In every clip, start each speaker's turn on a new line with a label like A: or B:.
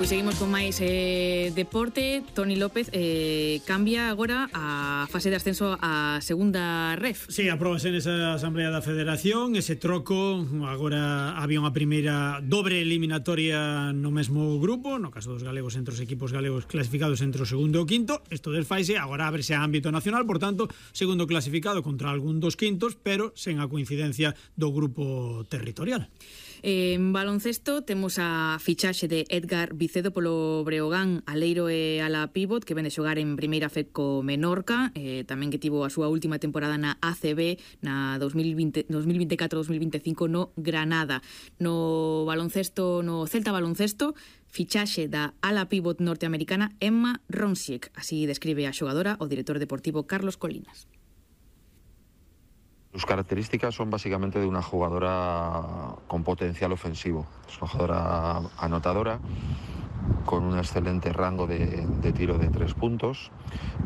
A: Pois seguimos con máis deporte. Toni López cambia agora a fase de ascenso a segunda ref.
B: Sí, apróbase nesa Asamblea da Federación ese troco. Agora había unha primeira dobre eliminatoria no mesmo grupo, no caso dos galegos entre os equipos galegos clasificados entre o segundo e o quinto. Isto desfaise, agora ábrese a ámbito nacional, por tanto, segundo clasificado contra algún dos quintos, pero sen a coincidencia do grupo territorial.
A: En baloncesto temos a fichaxe de Edgar Vicedo polo Breogán, aleiro e ala pívot, que vende xogar en primeira FED co Menorca, tamén que tivo a súa última temporada na ACB na 2024-2025 no Granada. No baloncesto, no Celta baloncesto, fichaxe da ala pívot norteamericana Emma Ronsiek, así describe a xogadora o director deportivo Carlos Colinas.
C: Sus características son básicamente de una jugadora con potencial ofensivo. Es una jugadora anotadora, con un excelente rango de tiro de 3 puntos,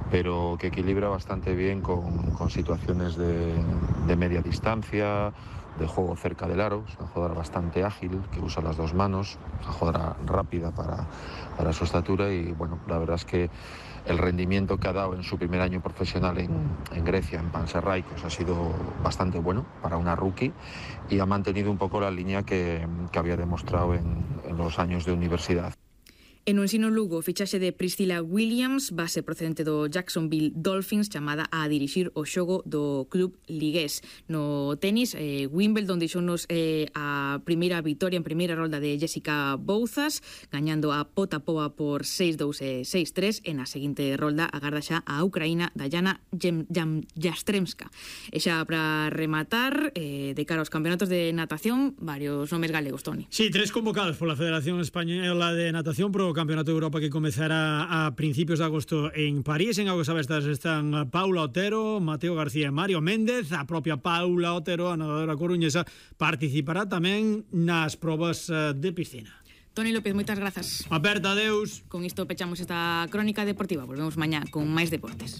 C: pero que equilibra bastante bien con situaciones de media distancia, de juego cerca del aro. Es una jugadora bastante ágil, que usa las dos manos, una jugadora rápida para su estatura y bueno, la verdad es que el rendimiento que ha dado en su primer año profesional en Grecia, en Panathinaikos, ha sido bastante bueno para una rookie y ha mantenido un poco la línea que había demostrado en los años de universidad.
A: En o Ensino Lugo, fichaxe de Priscilla Williams, base procedente do Jacksonville Dolphins, chamada a dirixir o xogo do club ligués. No tenis, Wimbledon deixounos a primeira vitoria en primeira rolda de Jessica Bouzas, gañando a Potapova por 6-2 e 6-3. En a seguinte rolda agarda xa a Ucraína Dayana Jastremska. E xa para rematar, de cara aos campeonatos de natación, varios nomes galegos, Toni.
B: Sí, 3 convocados pola Federación Española de Natación pro Campeonato de Europa que comezará a principios de agosto en París. En augas abestas están Paula Otero, Mateo García e Mario Méndez. A propia Paula Otero, a nadadora coruñesa, participará tamén nas probas de piscina.
A: Toni López, moitas grazas.
B: Aperta, adeus.
A: Con isto pechamos esta crónica deportiva. Volvemos mañá con máis deportes.